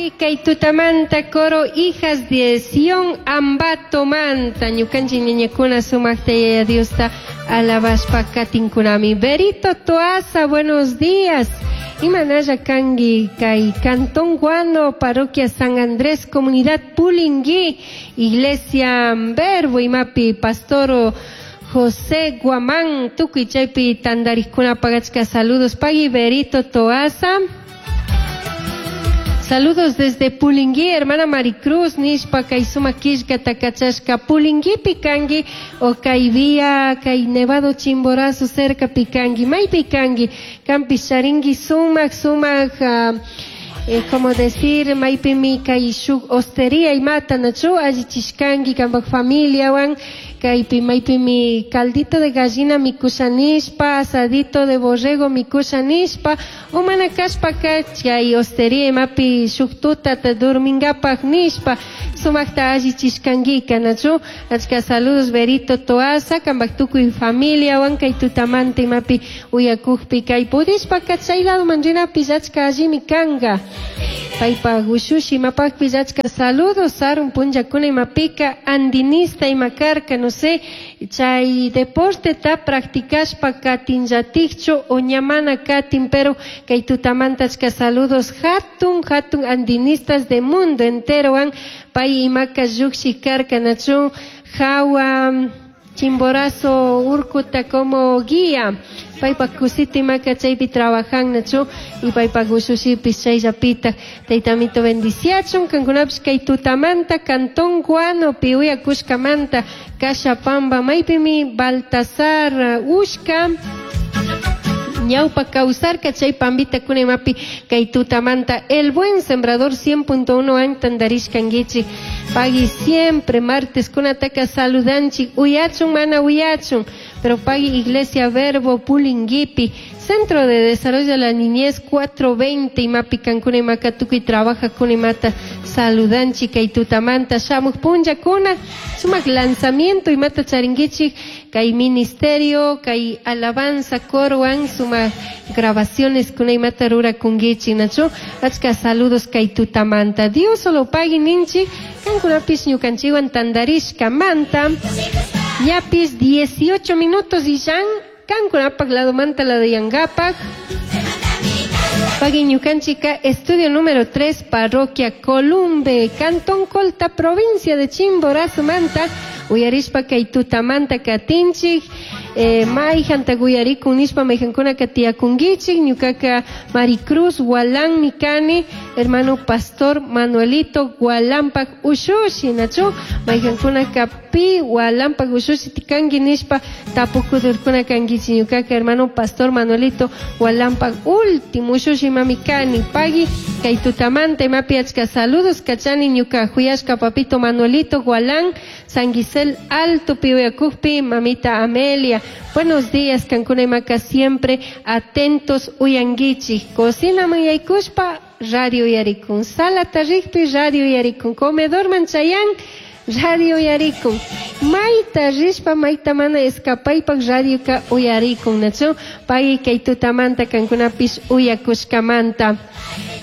Kay tutamanta coro Hijas de Sion Ambato manta ñukanchik ñañakuna sumaqta Yaya Diosta alabashpa katinkunami. Berito Toaza, buenos días. Imanalla kanki kay Cantón Guano, Parroquia San Andrés, Comunidad Pulingui, Iglesia Verbo imapi Pastor José Guamán, tukuy chaypi tandarikuna pagachka saludos. Pagui Berito Toaza. Saludos desde Pulingui, hermana Maricruz, nishpa kay sumak killkata kachashka Pulinguipi kanki o kay vía kay Nevado Chimborazo cerca pikanki, maypi kanki, kanpish charinki sumak sumak como decir, maypimi kay shuk hostería imata nachu allichishkanki kanpak familiawan, kaypi maypimi caldito de gallina mikusha nishpa, asadito de borrego mikusha nishpa, o mana kashpaka chay hostería imapi shuk tutata durmingapak nishpa, sumakta allichishkankika nachu, achka saludos Berito Toaza, kanpak tukuy familiawan kay tutamanta imapi uyakukpi kay pudishpaka chay ladoman rinapish achka allimi kanka. Paypak ushushi imapakpish achka saludos sarun punllakuna imapika andinista ima karka, no sé, chay deporteta practicashpa katinllatikchu o ña mana katin, pero kay tutamanta achka saludos hatun hatun andinistas de mundo enterowan pay imaka llukshi karka nachu hawa Chimborazo urkuta como guía. Paypak kusita imaka chaypi trabajan nachu y paypak ushushipis chayllapita taytamito bendiciachun kankunapish kay tutamanta Cantón Guano piuyakushkamanta Cashapamba maypimi Baltasar Ushka ñawpa kawsarka chay pambita kuna imapi kay tutamanta El Buen Sembrador 100.1 an tandarishkankichik pagui siempre martes kunataka saludanchik uyachun mana uyachun pero pagui Iglesia Verbo Pulinguipi Centro de Desarrollo de la Niñez 420 imapi kankuna imaka tukuy trabaja kuna imata saludanchik kay tutamanta shamuk punllakuna sumak lanzamiento imata charinkichik kay ministerio kay alabanza corowan sumak grabaciones kuna imata rurakunkichik nachu achka saludos kay tutamanta Dios solo pagui ninchik kankunapish ñukanchikwan tandarishkamanta ñapis 18 minutos y ya kankunapak ladomanta la de Yangapak. Pagui ñukanchika, estudio número 3, parroquia Columbe, Cantón Colta, provincia de Chimborazo, Manta, uyarishpa kay tutamanta katinchik, mayjanta uyarikun nishpa mayjankuna katiyakunkichik, ñukaka Maricruz Gualán mikani, hermano pastor Manuelito Gualampak ushushi, nachu, mayjankunaka pi Gualampak ushushi tikanki nishpa tapukudurkuna kankichik, ñukaka hermano pastor Manuelito Gualampak último ushushi mamikani, pagui kay tutamanta imapi achka saludos kachani ñuka huyashka papito Manuelito Gualán, San Gisel Alto piuyakukpi, mamita Amelia. Buenos días, kankuna imaka siempre atentos uyanguichi. Cocina manyaykushpa, radio uyarikun. Sala tarikpi, radio uyarikun. Comedor manchayan, radio uyarikun. Mayta rishpa, mayta mana escapaypak radioka uyarikun. Nachu, pagui kay tutamanta kankunapish uyakushkamanta.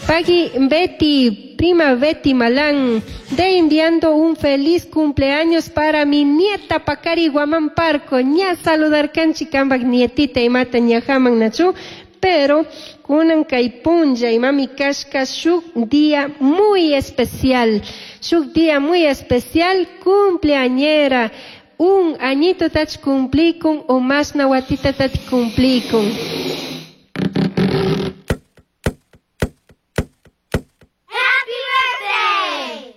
Pagui Betty, prima Betty Malán, de enviando un feliz cumpleaños para mi nieta Pacari Guamán Parco. Ña saludar kanchi kambak nietita imata ñajaman nachu, pero kunan kay punlla imami kashka shuk día muy especial. Shuk día muy especial, cumpleañera. Un añito tach cumplicun o más nawatita tach cumplicun.